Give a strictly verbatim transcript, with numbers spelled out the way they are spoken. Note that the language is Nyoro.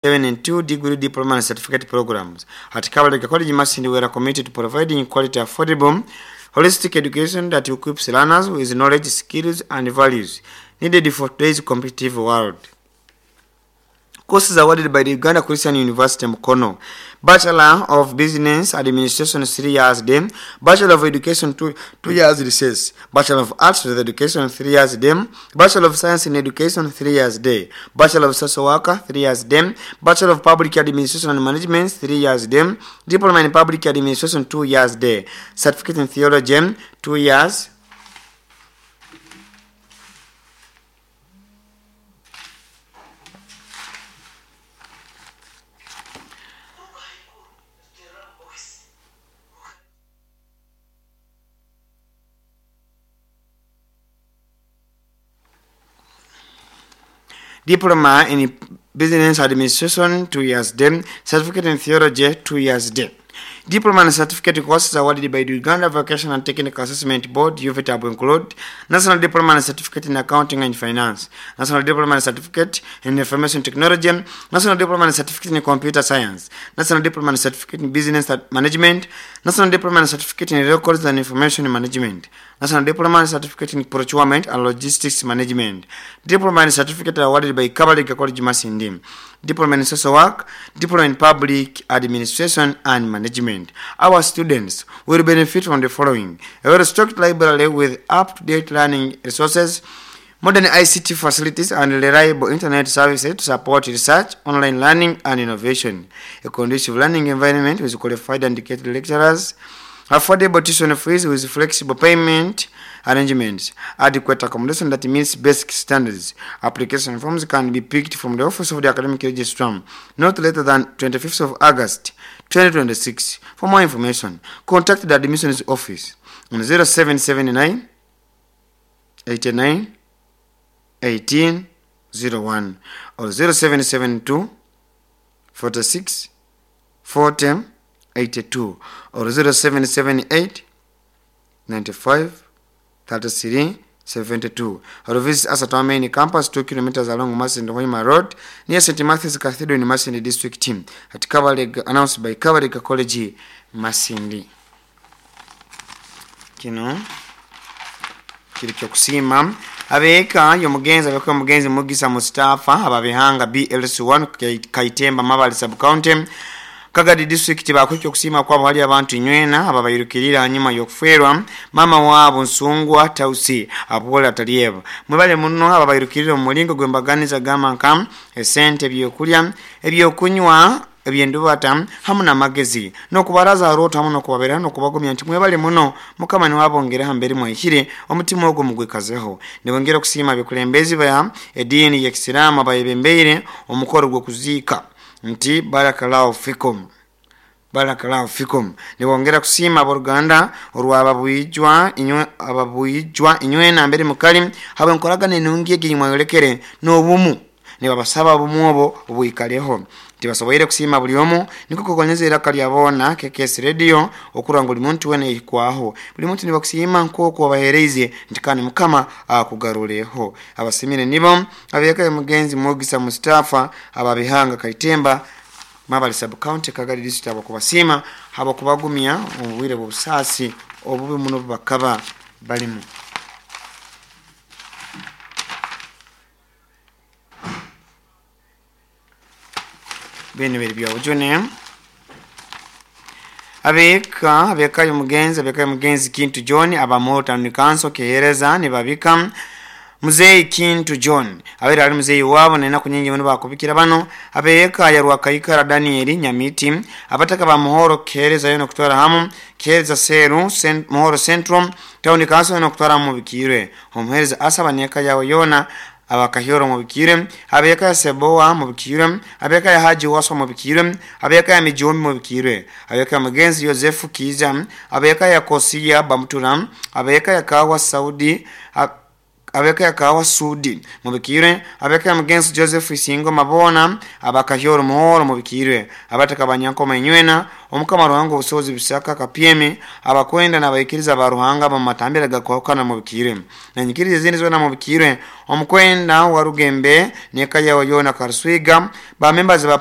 seven and two degree diploma and certificate programs. At Kabalega College Masindi, we are committed to providing quality, affordable, holistic education that equips learners with knowledge, skills, and values needed for today's competitive world. Courses awarded by the Uganda Christian University Mukono. Bachelor of Business Administration, three years day. Bachelor of Education, two, two years recess. Bachelor of Arts with Education, three years day. Bachelor of Science in Education, three years day. Bachelor of Social Worker, three years day. Bachelor of Public Administration and Management, three years day. Diploma in Public Administration, two years day. Certificate in Theology, two years. Diploma in Business Administration, two years day. Certificate in Theology, two years day. Diploma and certificate courses awarded by the Uganda Vocational and Technical Assessment Board, U V T A B, include National Diploma and Certificate in Accounting and Finance, National Diploma and Certificate in Information Technology, National Diploma and Certificate in Computer Science, National Diploma and Certificate in Business Management, National Diploma and Certificate in Records and Information Management, National Diploma and Certificate in Procurement and Logistics Management, Diploma and Certificate awarded by Kabalega College Masindi, Diploma in Social Work, Diploma in Public Administration and Management. Our students will benefit from the following: a well-stocked library with up-to-date learning resources, modern I C T facilities and reliable internet services to support research, online learning and innovation, a conducive learning environment with qualified and dedicated lecturers, affordable tuition fees with flexible payment arrangements, adequate accommodation that meets basic standards. Application forms can be picked from the office of the academic registrar not later than twenty-fifth of August twenty twenty-six. For more information, contact the admissions office on zero seven seven nine eighty-nine eighteen zero one or zero seven seven two forty-six forty eighty-two or zero seven seven eight ninety-five thirty-three seventy-two, or visit us at our main campus, two kilometers along Masindi Hoima Road near Saint Matthew's Cathedral in Masindi District Team at Kabalega, announced by Kabalega College Masindi. Kino kiri kyokusima abeeka yomugenzi abeeka omugenzi Mugisa Mustafa ababihanga B L C one Kaitemba Mabali Sub County Kagadi District bakukyo kusima kwabo hali abantu nywena ababayirukirira nyuma yokuferwa mama wabo Nsungwa Tausi apola Talieva mwebale muno ababayirukirira mu mulingo gwembaganiza gama nka esente ebyokulya ebyokunywa ebyendubata hamu n'amagezi n'okubaraza arota hamu n'okubabera n'okubagumya nti mwebale muno mukama ni wabongera hambere mwihire omutima ogwo mugwekazeho nibongera kusima bikulembezi ba edini ya Kisiramu abayebembeire omukoro gwo kuziika nti barakallahu fikum barakallahu fikum. Nibongera kusima aboluganda olwababuyijwa inywe ababuyijwa inywe na mbere mukali habe nkoragane nungi eginywa n'obumu nibabasaba obumu obwo obwikaleho tibasoboire kusima buli omu niko kukonyeza iraka lyabona K K S Radio okuranga buli muntu wene ikwaho buli muntu nibakusima nkoko abahereze ntikani mukama akugaruleho abasimire nibo abeka mugenzi Mugisa Mustafa ababihanga Kaitemba Mabali Sub County Kagadi District abakubasima abakubagumya obwire bw'obusasi obubi muno bakaba balimu. Bene biri bya ujune abeka abeka yomugenzi abeka yomugenzi Kintu John abamota nikanso kehereza nibabika Muzei Kintu John abera ali muzeyi wabo nena kunyingi muno bakubikira bano abeka ya Rwakaikara Daniel Nyamiti abataka ba Muhoro kehereza yono kutwara hamu kehereza Seru Sent, Muhoro Central Town Council yono kutwara mu bikirwe omuhereza asaba neka yawe yona abakahioro mu bikire abeka ya Seboa mu bikire abeka ya Haji Waswa mu bikire abeka ya Mijombi mu bikire abeka ya Mugenzi Yosefu Kiza abeka ya Kosia Bamtura abeka ya Kawa Saudi Abeka ya Kawa Sudi mubikirwe, abeka ya mugenzi Joseph Isingoma bona abakahyoro muhoro mubikirwe, abataka banyankoma inywena omukama Ruhanga obusobozi bisaka kapyemi abakwenda n'abaikiriza ba Ruhanga bamatambira gakwahukana mubikirwe, nanyikiriza ezindi zona mubikirwe, omukwenda wa Rugembe neka yawe yona Karuswiga ba members ba